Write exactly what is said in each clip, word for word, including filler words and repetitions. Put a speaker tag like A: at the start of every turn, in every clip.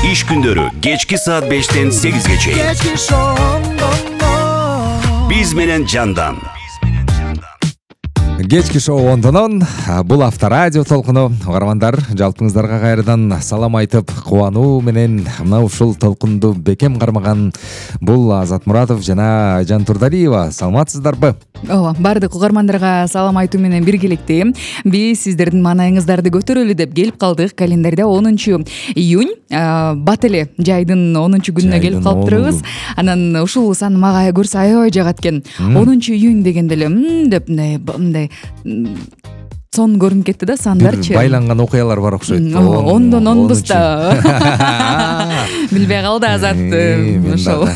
A: Иш күндөрү кечки саат бештен сегизге чейин. Биз менен Жандан.
B: Кечки шоу ондонон бул авторадио толкуну. Угармандар, жалпыңыздарга кайрадан салам айтып, кубануу менен мына ушул толкунду бекем кармаган бул Азат Муратов жана Айжан Турдалиева. Саламатсыздарбы?
C: Ооба, бардык угармандарга салам айтуу менен биргеликте биз сиздердин маанайыңыздарды көтөрөлү деп келип калдык. Календарда онунчу июнь, бат эле жайдын онунчу күнүнө келип калыптырбыз. Анан ушул сан мага көрсө аябай жагат экен. онунчу июнь дегенде эле м деп мындай сон көрүнүп кетти да, сандарчы.
B: Байланган окуялар бар окшойт.
C: Ондон онбуз да. Билбей калды Азат. Ошол.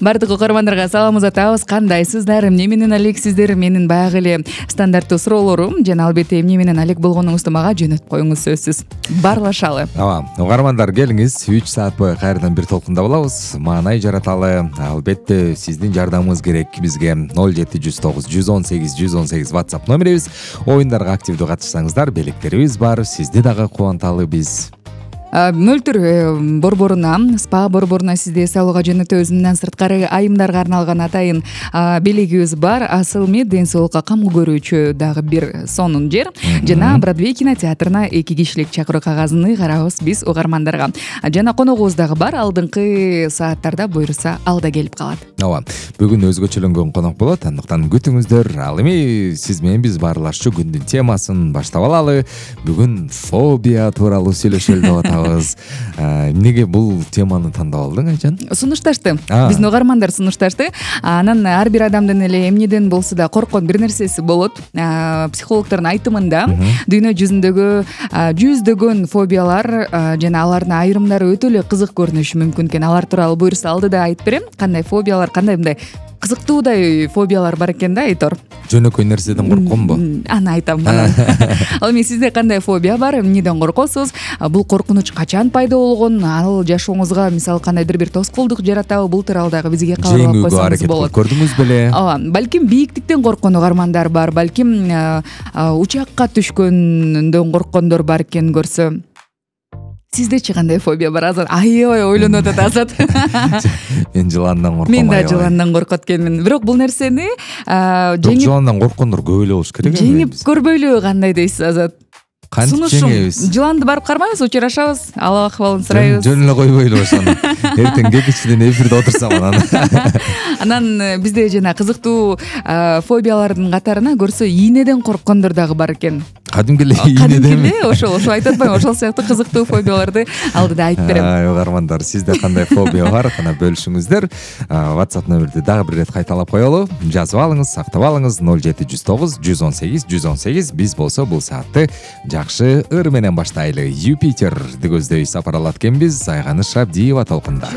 C: Бардык угармандарга саламатсызбы? Кандайсыздар? Эмне менен алек сиздер? Менин баягы эле стандарттуу суроолорум жана албетте эмне менен алек болгонуңузду мага жөнөтүп коюңуз, сөзсүз. Барлашалы.
B: Ооба, угармандар келиңиз, үч саат бою кайрадан бир толкунда болобуз. Маанай жараталы. Албетте сиздин жардамыңыз керек бизге. ноль жети жүз тогуз жүз он сегиз жүз он сегиз WhatsApp номерибиз. Оюндарга активдүү катышсаңыздар, белектерибиз бар. Сизди дагы кубанталы биз.
C: Мөлтүр борборуна, спа борборуна сизди эс алууга жөнөтөбүз. Мындан сырткары айымдарга арналган атайын белегибиз бар. Асыл мед ден соолукка камыл көрүүчү дагы бир сонун жер. Жана Бродвей кинотеатрына эки кишилик чакыруу кагазын карабыз биз угармандарга. Жана коногубуз дагы бар. Алдыңкы сааттарда буйрса ал да келип калат.
B: Ооба, бүгүн өзгөчөлөнгөн конок болот. Андыктан күтүңүздөр. Ал эми сиз менен биз баарлашчу күндүн темасын баштап алалы. Бүгүн фобия тууралуу сүйлөшөлү деп атабыз. Эмнеге бул теманы тандап алдың, Айжан?
C: Сунушташты. Биздин угармандар сунушташты. Анан ар бир адамдын эле эмнеден болсо да корккон бир нерсеси болот. Психологдордун айтымында дүйнө жүзүндөгү жүздөгөн фобиялар жана алардын айрымдары өтө эле кызык көрүнүшү мүмкүн экен. Алар тууралуу буйрса алдыда айтып берем. Кандай фобиялар, кандай мындай кызыктуудай фобиялар бар экен да, Айтор.
B: Жөнөкөй нерседен коркконбу?
C: Аны айтам. Ал эми сизде кандай фобия бар? Эмнеден коркосуз? Бул коркунуч качан пайда болгон? Ал жашооңузга мисалы кандайдыр бир тоскоолдук жаратабы? Бул тууралуу дагы бизге кабарлап койсоңуз болот.
B: Көрдүңүз беле?
C: Ооба, балким бийиктиктен корккон угармандар бар, балким учакка түшкөндөн корккондор бар экен көрсө. Сиздечи кандай фобия бар, Азат? Аябай ойлонуп атат Азат.
B: Мен жыландан корком.
C: Мен да жыландан коркот экенмин. Бирок бул нерсени
B: жеңип жыландан корккондор көп эле болуш керек.
C: Жеңип көрбөйлү кандай дейсиз, Азат?
B: Кантип жеңебиз?
C: Жыланды барып кармайбыз, учурашабыз, ал акыбалын сурайбыз.
B: Жөн эле койбойлу ошону. Эртең кечичтен эфирде отурсам анан.
C: Анан бизде жана кызыктуу фобиялардын катарына көрсө ийнеден корккондор дагы бар экен.
B: Кадимки эле ийнеден.
C: Ошол, ошол айтып атпаймынбы? Ошол сыяктуу кызыктуу фобияларды алдыда айтып берем.
B: Ай, угармандар, сизде кандай фобия бар? Кана бөлүшүңүздөр. WhatsApp номерди дагы бир ирет кайталап коелу. Жазып алыңыз, сактап алыңыз. ноль жети жүз тогуз жүз он сегиз жүз он сегиз. Биз болсо бул саатты жакшы ыр менен баштайлы. Юпитер көздөй сапар алат экенбиз. Айганыш Абдиева толкунда.